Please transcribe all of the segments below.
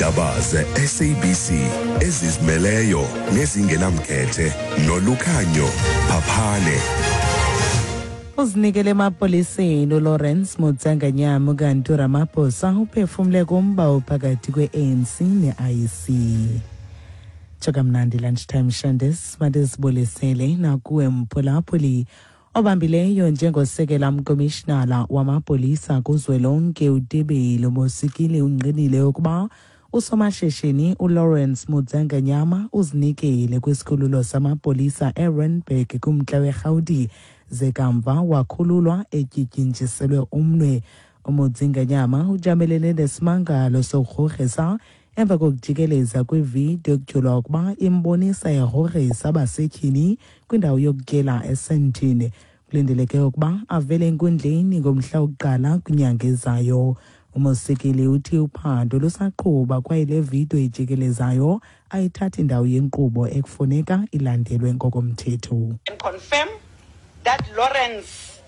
Iindaba ze-SABC ezizimeleyo nezingenamkhethe nolukhanyo Phaphane. Uzinikele emapoliseni uLawrence Mutsanganyama kanti uRamaphosa uphefumle kumba ophakathi kwe-ANC ne-IEC. Tsho kamnandi lunchtime Shandes, mandizibulisele nakuwe mphulaphuli. Obambileyo njengosekela mkomishinala wamapolisa kuzwelonke uTebele Mosikili ungqinile ukuba usomashishini uLawrence Mudzanganyama uzinikele kwisikhululo samapolisa eRandburg kumntla weRhawuti ze kamva wakhululwa etyityinjiselwe umnwe. UMudzinganyama ujamelene nesimangalo sokugrogrisa emva kokujikeleza kwividiyo ekutyholwa ukuba imbonisa egrogrisa abasetyhini kwindawo yokutyela eSandton. Kulindeleke ukuba avele enkundleni ngomhla wokuqala kwinyanga ezayo. UMosikili uthi uphando lusaqhuba kwaye le vidiyo ijikelezayo ayithathi ndawo yenkqubo ekufuneka ilandelwe ngokomthetho. And confirm that Lawrence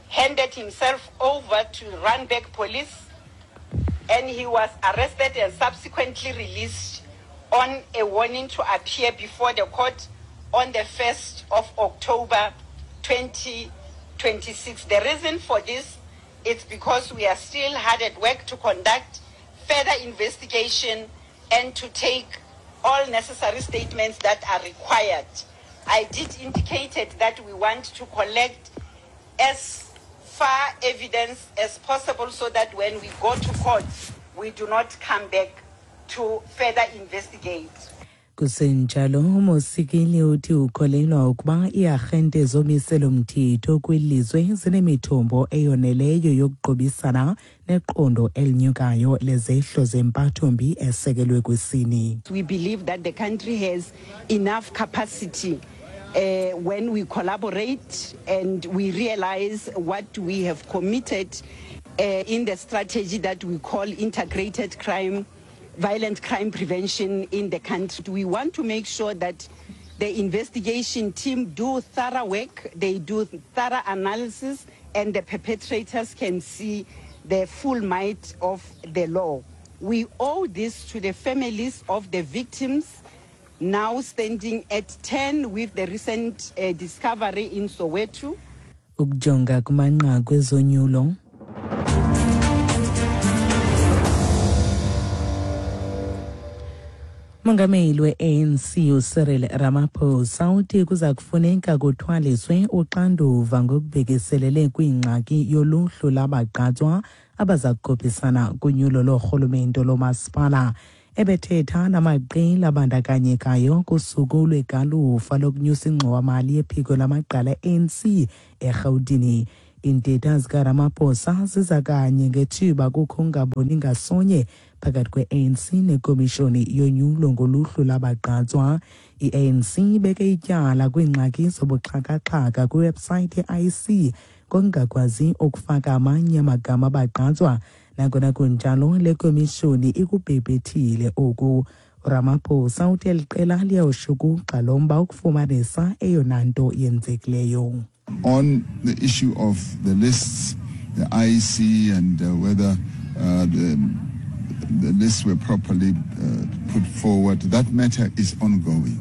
handed himself over to Randburg police and he was arrested and subsequently released on a warning to appear before the court on the 1st of October 2026. The reason for this is because we are still hard at work to conduct further investigation and to take all necessary statements that are required. I did indicate that we want to collect as far evidence as possible so that when we go to court, we do not come back to further investigate. Kusenjalo, uMosikili uthi ukholelwa ukuba iiarhente zomiselo-mthetho kwilizwe zinemithombo eyoneleyo yokuqubisana neqondo elinyukayo lezehlo zempathombi esekelwe kwisini. We believe that the country has enough capacity when we collaborate and we realize what we have committed in the strategy that we call integrated crime, violent crime prevention in the country. We want to make sure that the investigation team do thorough work, they do thorough analysis, and the perpetrators can see the full might of the law. We owe this to the families of the victims, now standing at 10 with the recent discovery in Soweto. Ukujonga kumanqaku ezonyulo. Umongameli we-ANC uCyril Ramaphosa uthi kuza kufuneka kuthwaliswe uxanduva ngokubhekiselele kwingxaki yoluhlu labagqatswa abaza kukhuphisana kunyulo loorhulumente lomasipala. Ebethetha namaqela abandakanyekayo kusuku lwegalufa lokunyusa ingxowamali yephiko lamagqala e-ANC eRhawutini. Iintetha zikaRamaphosa ziza kanye ngethuba kukho ungaboni ngasonye phakathi kwe-ANC nekomishoni yonyulo ngoluhlu labagqatswa. I-ANC ibeke ityala kwiingxaki zobuxhakaxhaka kwiwebsayithi ye-IEC ngokungakwazi ukufaka amanye amagama abagqatswa. Nangona kunjalo, le komishoni ikubhebhethile oku. URamaphosa uthi eli qela liyawushukuxa lo mba ukufumanisa eyona nto yenzekileyo. On the issue of the lists, the IEC and whether the lists were properly put forward, that matter is ongoing.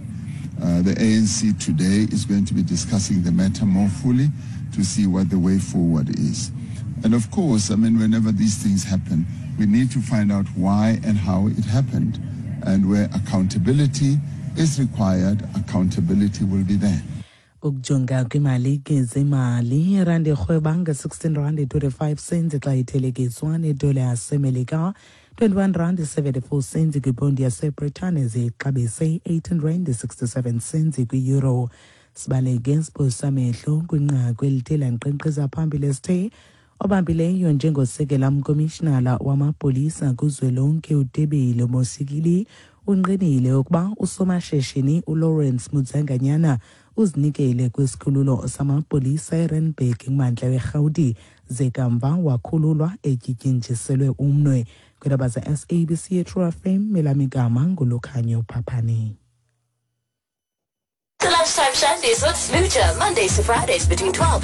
The ANC today is going to be discussing the matter more fully to see what the way forward is. And of course, I mean, whenever these things happen, we need to find out why and how it happened. And where accountability is required, accountability will be there. Ukujonga kwimali ke zemali, irandi irhweba nge-16 rand 25 cents xa ithelekiswa nedola yaseMelika, 21 rand 74 cents kwiponti yaseBritane, zixabise 18 rand 67 cents kwi-euro. Sibaleke siphosa amehlo kwinqaku elithe lankqenkqeza phambili esithe obambileyo njengosekela mkomishinala wamapolisa kuzwelonke uTebele Mosikili unqinile ukuba usomashishini uLawrence Mudzanganyana uzinikele kwisikhululo samapolisa eRandburg kumantla weRhawuti ze kamva wakhululwa etyityinjiselwe umnwe. Kwiindaba ze-SABC yeTrue FM, elam igama nguLukhanyo Phaphane. The Lunchtime Shandies with Smoocher, Mondays to Fridays between 12 and